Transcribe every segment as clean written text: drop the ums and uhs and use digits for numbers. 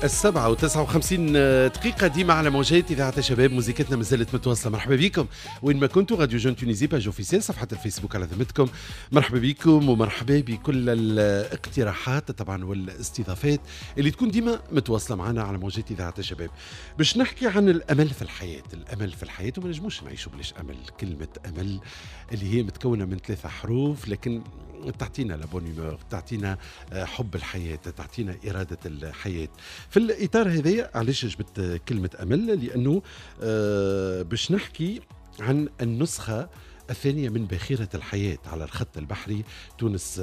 7:59 ديما على موجات إذاعة الشباب، موزيكتنا مازالت متواصلة. مرحبا بكم وين ما كنتوا، radio jeune Tunisie، page officielle، صفحة الفيسبوك على ذمتكم. مرحبا بكم ومرحبا بكل الاقتراحات طبعا والاستضافات اللي تكون ديما متواصلة معنا على موجات إذاعة الشباب. باش نحكي عن الأمل في الحياة، الأمل في الحياة، وما نجموش نعيشوا بلاش أمل. كلمة أمل اللي هي متكونة من ثلاثة حروف، لكن تعطينا la bonne humeur، تعطينا حب الحياة، تعطينا إرادة الحياة. في الإطار هذايا علاش جبت كلمة أمل؟ لأنه باش نحكي عن النسخة الثانية من باخرة الحياة على الخط البحري تونس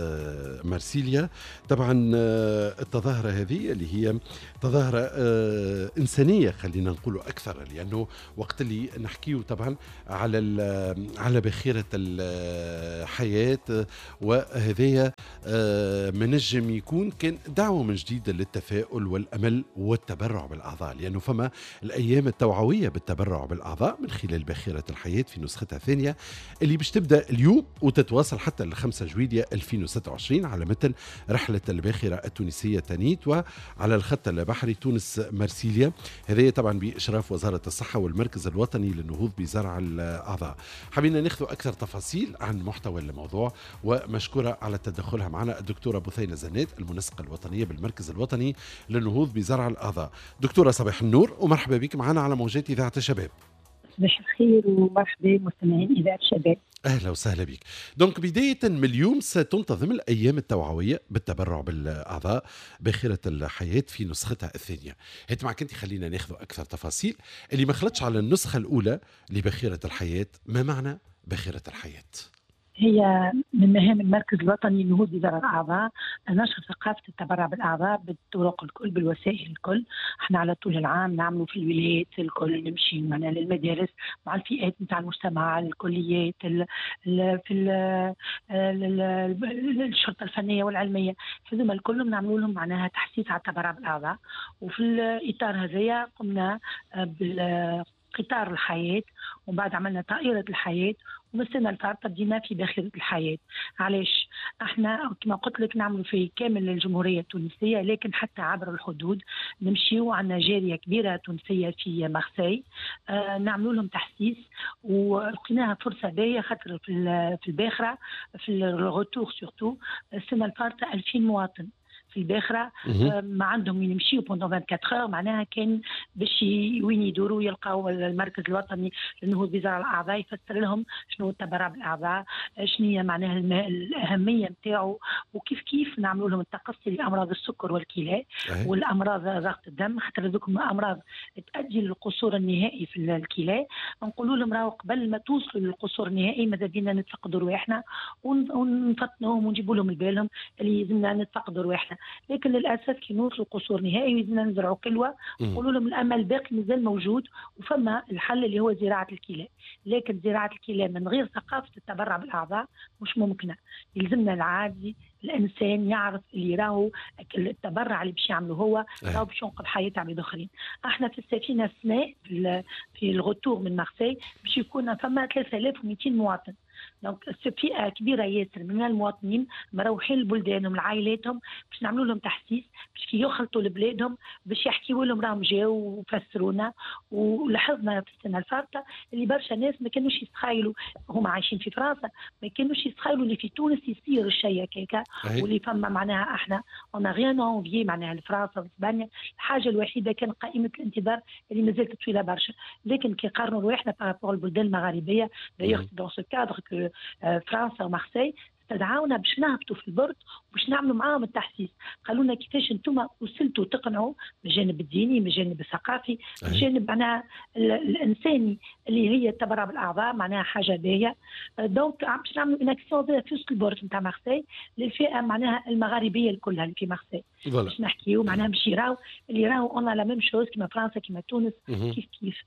مارسيليا. طبعا التظاهرة هذه اللي هي تظاهرة إنسانية خلينا نقول أكثر، لأنه وقت اللي نحكيه طبعا على باخرة الحياة، وهذايا منجم يكون كان دعوة من جديد للتفاؤل والأمل والتبرع بالأعضاء، لأنه فما الأيام التوعوية بالتبرع بالأعضاء من خلال باخرة الحياة في نسختها الثانية اللي باش تبدا اليوم وتتواصل حتى ال 5 جويلية 2026 على متن رحلة الباخرة التونسية تانيت وعلى الخط البحري تونس مرسيليا. هذا طبعا بإشراف وزارة الصحة والمركز الوطني للنهوض بزرع الأعضاء. حبينا ناخذ أكثر تفاصيل عن محتوى الموضوع، ومشكورة على تدخلها معنا الدكتورة بثينة زنات، المنسقة الوطنية بالمركز الوطني للنهوض بزرع الأعضاء. دكتورة صباح النور ومرحبا بك معنا على موجات إذاعة الشباب. صباح الخير ومرحبا مستمعين إذاعة الشباب. أهلا وسهلا بك. donc بداية من اليوم ستنتظم الأيام التوعوية بالتبرع بالأعضاء باخرة الحياة في نسختها الثانية. هات معك أنت، خلينا ناخذ أكثر تفاصيل اللي ما خلطش على النسخة الأولى لباخرة الحياة. ما معنى باخرة الحياة؟ هي من مهام المركز الوطني للنهوض بزرع الاعضاء نشر ثقافة التبرع بالاعضاء بالطرق الكل، بالوسائل الكل. احنا على طول العام نعملوا في الولايات الكل، نمشي معنا للمدارس مع الفئات نتاع المجتمع، الكليات، ال ال في ال ال الشرطة الفنية والعلميه، هذوما الكل نعملوا لهم معناها تحسيس على التبرع بالاعضاء. وفي الاطار هذايا قمنا بالقطار الحياة، ومن بعد عملنا طائره الحياه، والسنة الفارطه بدينا في باخره الحياه. علاش؟ احنا كما قلت لك نعملوا في كامل الجمهورية التونسيه، لكن حتى عبر الحدود نمشيو. عندنا جالية كبيرة تونسية في مارسي، نعملوا لهم تحسيس، ولقيناها فرصة باهيه خاطر في الباخرة في ال retour surtout السنة الفارطه 2000 مواطن في الباخرة ما عندهم وين يمشيو pendant 24 heures، معناها كان باش وين يدوروا يلقاو المركز الوطني للنهوض بزرع الاعضاء يفسر لهم شنو التبرع بالاعضاء، شنو هي معناها الاهمية نتاعو، وكيف كيف نعملوا لهم التقصي لامراض السكر والكلى والامراض ضغط الدم، خاطر هذوك امراض تؤدي للقصور النهائي في الكلى. نقولوا لهم راهو قبل ما توصلوا للقصور النهائي ماذا بينا نتفقدوا رواحنا ونفطنوهم ونجيبوا لهم لبالهم اللي لازمنا نتفقدوا رواحنا. لكن للاسف كي نوصلوا قصور نهائي لازمنا نزرعوا كلوه، نقولوا لهم الامل باقي مازال موجود وفما الحل اللي هو زراعة الكلى، لكن زراعة الكلى من غير ثقافة التبرع بالاعضاء مش ممكنة. يلزمنا العادي الانسان يعرف اللي راهو التبرع اللي باش يعمله هو راهو باش ينقذ حياة عباد اخرين. احنا في السفينة السنة في ال retour من مارسي باش يكون فما 3200 مواطن، donc فئة كبيرة ياسر من المواطنين مروحين لبلدانهم لعائلاتهم باش نعملوا لهم تحسيس باش كي يخلطوا لبلادهم باش يحكيوا لهم راهم جاوا وفسرونا. ولاحظنا في السنة الفارطه اللي برشا ناس ما كانوش يتخيلوا، هما عايشين في فرنسا ما كانوش يتخيلوا اللي في تونس يصير الشيء هكاكا، واللي فما معناها احنا on n'a rien à envier معناها لفرنسا واسبانيا. الحاجة الوحيدة كان قائمة الانتظار اللي مازالت طويلة برشا، لكن كي قارنوا رواحنا par rapport البلدان المغاربية، d'ailleurs dans ce cadre que فرنسا ومارسي استدعونا باش نهبطوا في ال port وباش نعملوا معاهم التحسيس. قالوا لنا كيفاش انتم وصلتوا تقنعوا من الجانب الديني، من الجانب الثقافي، من الجانب معناها الانساني اللي هي التبرع بالاعضاء معناها حاجة باهيه. donc باش نعملوا une action في وسط ال port نتاع مارسي للفئه معناها المغاربية كلها اللي في مارسي، باش نحكيو معناها باش يراو اللي راهو on a la même chose كيما فرنسا كيما تونس كيف كيف.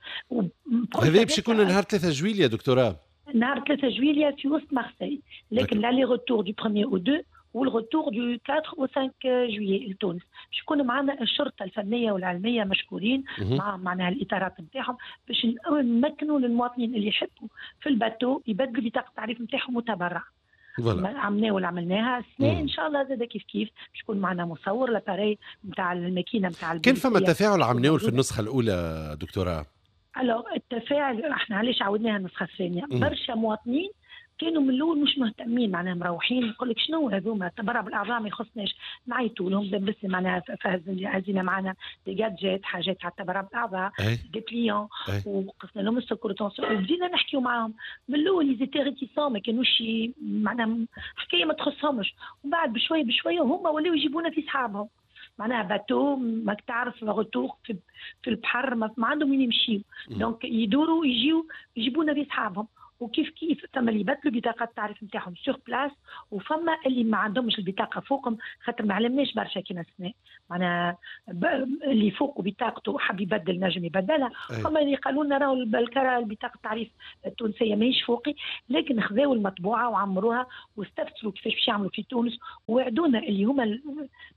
هذا باش يكون نهار 3 جويلية دكتورة؟ نهار 3 جويلية في وسط مارسي، لكن l'aller-retour du 1 au 2 وال retour du 4 au 5 juillet لتونس. باش يكونوا معنا الشرطة الفنية والعلمية مشكورين مع معناها الاطارات نتاعهم باش نمكنوا للمواطنين اللي يحبوا في ال bateau يبدلوا بطاقة التعريف نتاعهم متبرع. عملناه ولا عملناها السنة ان شاء الله زاد كيف كيف باش يكون معنا مصور l'appareil نتاع الماكينة نتاع. كان فما تفاعل عملناه في النسخة الاولى دكتورة؟ alors التفاعل احنا علاش عاودناها النسخة الثانية؟ برشا مواطنين كانوا من الاول مش مهتمين، معناها مروحين يقول لك شنو هذوما التبرع بالاعضاء ما يخصناش، نعيطوا لهم بس معناها هزينا معنا des gadgets حاجات على التبرع بالاعضاء، des dépliants، وقسنا لهم السكر وبدينا نحكيو معاهم. من الاول ils étaient réticents، ما كانوش معناها حكاية ما تخصهمش، ومن بعد بشوية بشوية هما ولاو يجيبونا في صحابهم، معناها bateau ماك تعرف retour في البحر ما عندهم وين يمشيو، donc يدوروا يجيو يجيبونا في صحابهم. وكيف كيف ثم اللي يبدلوا بطاقة التعريف نتاعهم sur place، وفما اللي ما عندهمش البطاقة فوقهم خاطر ما علمناش برشا كيما السنة، معناها اللي فوقه بطاقته حب يبدل نجم يبدلها، فما اللي قالوا لنا راهو البطاقة التعريف التونسية ماهيش فوقي، لكن خذاو المطبوعة وعمروها واستفسروا كيفاش باش يعملوا في تونس، ووعدونا اللي هما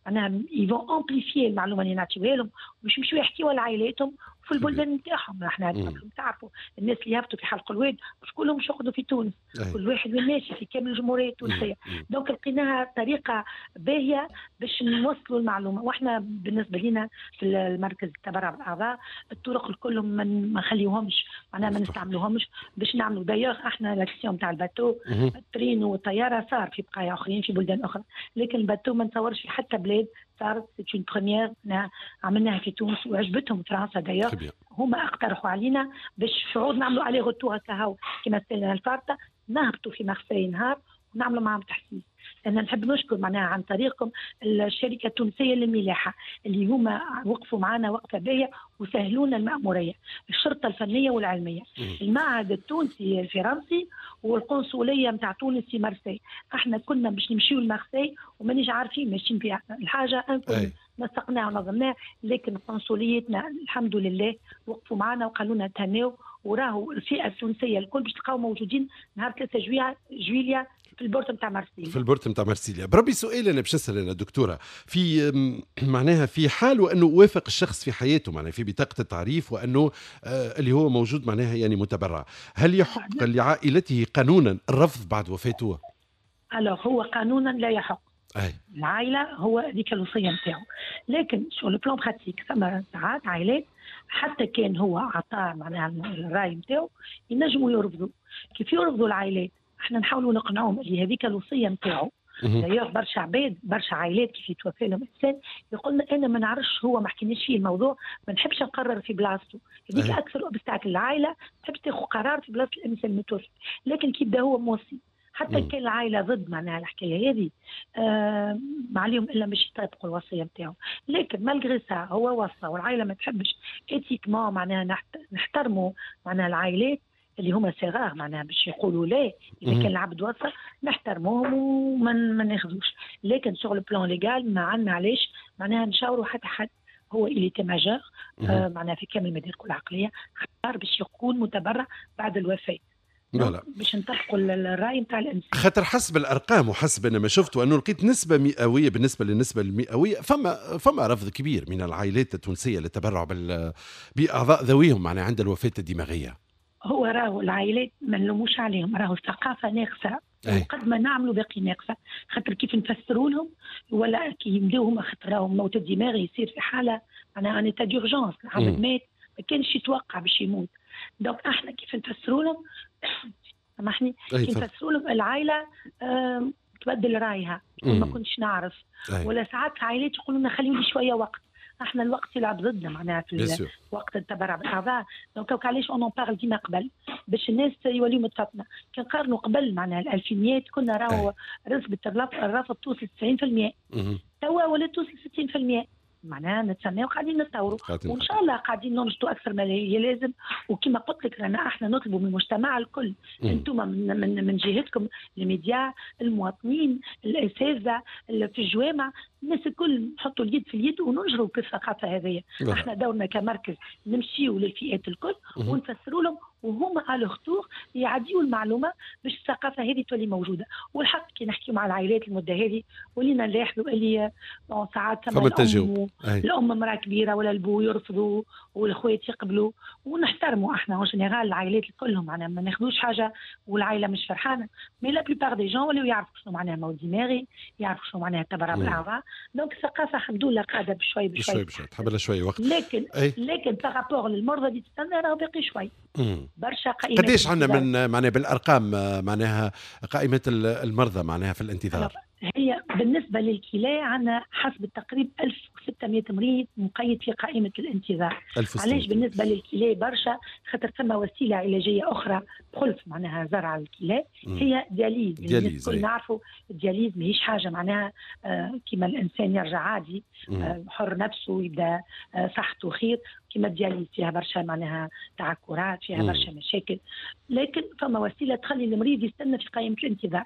معناها ils vont amplifier المعلومة اللي نعطيوها لهم باش يمشيو يحكيوها لعائلاتهم في البلدان نتاعهم. احنا تعرفوا الناس اللي يهبطوا في حلق الواد مش كلهم يقعدوا في تونس، كل واحد وين ماشي في كامل الجمهورية التونسية. donc لقيناها طريقه باهيه باش نوصلوا المعلومة. واحنا بالنسبة لنا في المركز التبرع بالاعضاء الطرق الكل ما نخليوهمش معناها ما نستعملوهمش باش نعملوا. d'ailleurs احنا l'action تاع ال bateau ال train والطياره صار في بقايا اخرين في بلدان اخرى، لكن ال bateau ما نتصورش في حتى بلاد صارت، c'est une première عملناها في تونس وعجبتهم فرنسا. d'ailleurs هما اقترحوا علينا باش في عوض نعملوا aller-retour هكا كما السنة الفارطه نهبطوا في مارسي نهار ونعملوا معهم تحسيس. انا نحب نشكر معناها عن طريقكم الشركة التونسية للملاحه اللي هما وقفوا معنا وقفه باهيه وسهلونا المأموريه، الشرطة الفنية والعلمية، المعهد التونسي الفرنسي والقنصليه نتاع تونس في مارسي. احنا كنا باش نمشيو لمارسي ومانيش عارفين ماشيين فيها الحاجة نسقناها ونظمناها، لكن قنصليتنا الحمد لله وقفوا معنا وقالوا لنا تهناو، وراهو الفئة التونسية الكل باش تلقاو موجودين نهار 3 جويليا في ال port نتاع مارسيليا. في ال port نتاع مارسيليا. بربي سؤال انا باش نسال انا دكتورة، في معناها في حال وانه وافق الشخص في حياته معناها في بطاقة التعريف وانه اللي هو موجود معناها يعني متبرع، هل يحق لعائلته قانونا الرفض بعد وفاته؟ alors هو قانونا لا يحق. أي. العائلة هو هذيك الوصية نتاعو، لكن sur le plan pratique ثم ساعات عائلات حتى كان هو عطاه معناها الراي نتاعو ينجموا يرفضوا. كيف يرفضوا العائلات؟ احنا نحاولوا نقنعوهم اللي هذيك الوصية نتاعو. d'ailleurs برشا عباد برشا عائلات كيف يتوفى لهم انسان يقول لنا انا ما نعرفش، هو ما حكيناش فيه الموضوع، ما نحبش نقرر في بلاصته. هذيك اكثر obstacle، العائلة ما تحبش تاخذ قرار في بلاصة الانسان المتوفي، لكن كي يبدا هو موصي حتى كان العائلة ضد معناها الحكاية هذه ما عليهم الا باش يطبقوا الوصية نتاعو. لكن malgré ça هو وصى والعائلة ما تحبش éthiquement معناها نحترموا معناها العائلات اللي هما صغار معناها باش يقولوا لا اذا كان العبد وصى نحترموهم وما ما ناخذوش. لكن sur le plan légal ما عندنا علاش معناها نشاوروا حتى حد، هو il était majeur معناها في كامل مداركه العقلية، اختار باش يكون متبرع بعد الوفاة. voilà باش نطبقوا الراي نتاع الانسان. خاطر حسب الارقام وحسب انا ما شفت وانه لقيت نسبه مئوية، بالنسبة للنسبه المئويه فما رفض كبير من العائلات التونسية للتبرع باعضاء ذويهم معناها عند الوفاة الدماغية. هو راهو العائلات ما نلوموش عليهم، راهو الثقافة ناقصه وقد ما نعملوا باقي ناقصه، خاطر كيف نفسروا لهم ولا كي يبداو هما، خاطر راهو الموت الدماغي يصير في حاله معناها en état d'urgence، العبد مات ما كانش يتوقع باش يموت. donc احنا كيف نفسروا لهم، سامحني، كيف نفسروا لهم العائلة تبدل رايها، ما كنتش نعرف. ولا ساعات العائلات يقولوا لنا خليوا لي شوية وقت، احنا الوقت يلعب ضدنا معناها في وقت التبرع بالاعضاء. donc علاش on en parle ديما قبل باش الناس يوليو متفطنه. كي نقارنوا قبل معناها الالفينيات كنا راهو نسبه الرفض توصل 90%، توا ولات توصل 60%، معناها نتسناو قاعدين نتطوروا وان شاء الله قاعدين ننشطوا اكثر ما لازم. وكما قلت لك رانا احنا نطلبوا من المجتمع الكل، انتم من جهتكم الميديا، المواطنين، الاساتذة في الجوامع، الناس الكل نحطوا اليد في اليد وننشروا في الثقافة هذه. احنا دورنا كمركز نمشيو للفئات الكل ونفسروا لهم، وهما à leur tour يعديوا المعلومة باش الثقافة هذه تولي موجودة. والحق كي نحكيو مع العائلات المدة هذه ولينا نلاحظوا اللي ساعات ثم التجاوب، الام مراة كبيرة ولا البو يرفضوا والاخوات يقبلوا، ونحترموا احنا en général العائلات كلهم، معناها ما ناخذوش حاجة والعائلة مش فرحانة، mais la plupart des gens ولاو يعرفوا شنو معناها موت دماغي، يعرفوا شنو معناها التبرع بالاعضاء. donc الثقافة الحمد لله قاعدة بشوي بشوي بشوي، تحب لها شوي وقت. لكن par rapport للمرضى اللي تستنى راه باقي شوي برشا قائمات. قديش عندنا من معناها بالارقام معناها قائمة المرضى معناها في الانتظار؟ هي بالنسبة للكلى عندنا حسب التقريب 1600 مريض مقيد في قائمة الانتظار. علاش بالنسبة للكلى برشا؟ خاطر ثم وسيلة علاجية اخرى بخلف معناها زرع الكلى، هي dialyse. dialyse كل نعرفوا ال dialyse ماهيش حاجة معناها كيما الانسان يرجع عادي حر نفسه يبدا صحته خير، كيما ال dialyse فيها برشا معناها تعكرات، فيها برشا مشاكل، لكن فما وسيلة تخلي المريض يستنى في قائمة الانتظار.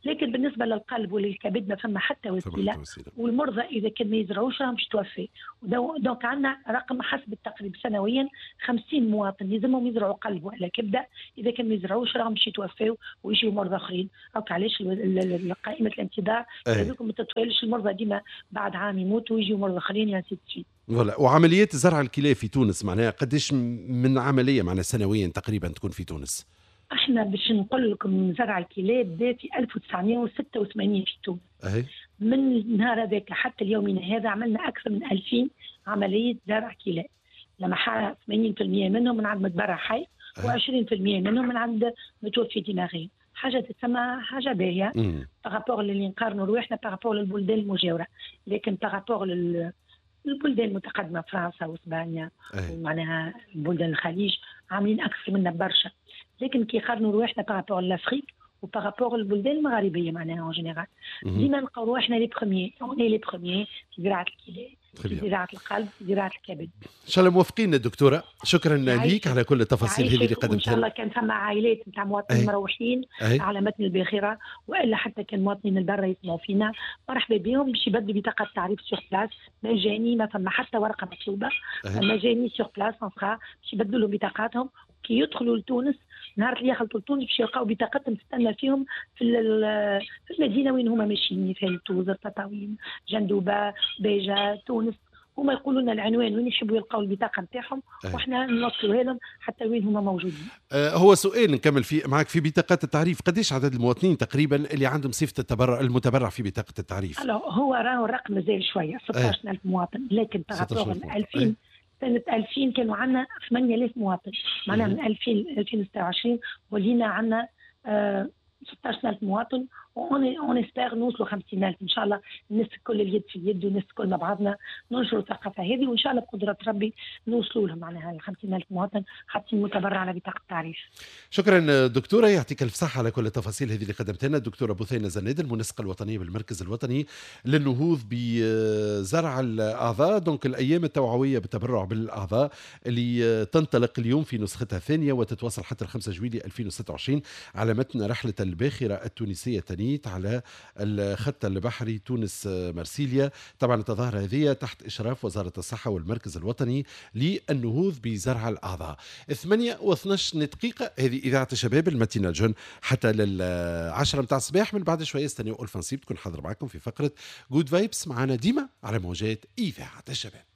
لكن بالنسبة للقلب وللكبد ما فما حتى وسيلة، والمرضى اذا كان ما يزرعوش راهم باش توفي. donc عندنا رقم حسب التقريب سنويا 50 مواطن يلزمهم يزرعوا قلب ولا كبده، اذا كان ما يزرعوش راهم باش يتوفاو ويجيو مرضى اخرين. donc علاش قائمة الانتظار هذوك ما تطولش، المرضى ديما بعد عام يموتوا ويجيو مرضى اخرين ainsi de suite. voilà. وعمليات زرع الكلى في تونس معناها قديش من عملية معناها سنويا تقريبا تكون في تونس؟ احنا باش نقول لكم زرع الكلى بدا في 1986 في تونس. من النهار هذاك حتى اليومين هذا عملنا اكثر من 2000 عملية زرع كلى، لما 80% منهم من عند متبرع حي و20% منهم من عند متوفي دماغي. حاجة تسمى حاجة باهيه par rapport اللي نقارنوا رواحنا par rapport للبلدان المجاوره، لكن par rapport البلدان المتقدمة فرنسا واسبانيا ومعناها بلدان الخليج عاملين اكثر منا برشا، لكن كي يقارنوا رواحنا par rapport l'Afrique و par rapport البلدان المغاربية معناها en général ديما نلقاو رواحنا les premiers، on est les premiers في زراعة الكلى، في زراعة القلب، في زراعة الكبد. ان شاء الله موفقين دكتوره، شكرا ليك على كل التفاصيل هذه اللي قدمتها. ان شاء الله كان ثم عائلات نتاع مواطنين مروحين على متن الباخرة، والا حتى كان مواطنين البرة يسمعوا فينا، مرحبا بهم باش يبدلوا بطاقة تعريف sur place مجاني، ما ثم حتى ورقة مطلوبه، مجاني sur place باش يبدلوا لهم بطاقاتهم. كي يدخلوا لتونس نهار اللي يخلطوا لتونس باش يلقاو بطاقتهم تستنى فيهم في المدينة وين هما ماشيين، في توزر، تطاوين، جندوبه، باجه، تونس، هما يقولوا لنا العنوان وين يحبوا يلقاو البطاقة نتاعهم واحنا نوصلوها لهم حتى وين هما موجودين. هو سؤال نكمل فيه معك في بطاقات التعريف، قديش عدد المواطنين تقريبا اللي عندهم صفة التبرع المتبرع في بطاقة التعريف؟ هو راهو الرقم مازال شوية 16000 مواطن، لكن par rapport 2000 سنة 2000 كانوا عندنا 8000 مواطن، معناها من 2000 ل 2026 ولينا عندنا 16000 مواطن، on espère نوصلوا 50000 ان شاء الله. الناس الكل اليد في اليد والناس الكل مع بعضنا ننشروا الثقافة هذه، وان شاء الله بقدره ربي نوصلوا لهم معناها 50000 مواطن حاطين متبرع على بطاقة التعريف. شكرا دكتورة، يعطيك الف صحة على كل التفاصيل هذه اللي قدمتها لنا. الدكتورة بثينه زناد المنسقه الوطنية بالمركز الوطني للنهوض بزرع الاعضاء. donc الايام التوعوية بالتبرع بالاعضاء اللي تنطلق اليوم في نسختها الثانية وتتواصل حتى 5 جويلية 2026 على متن رحله الباخرة التونسية تانيت على الخط البحري تونس مرسيليا. طبعا التظاهرة هذه تحت إشراف وزارة الصحة والمركز الوطني للنهوض بزرع الأعضاء. 8:12 دقيقة، هذه إذاعة الشباب ال matinale jeune حتى لل10 متاع الصباح. من بعد شوية استنيوا ألفا نصيب تكون حاضر معكم في فقرة Good Vibes معنا ديما على موجات إذاعة الشباب.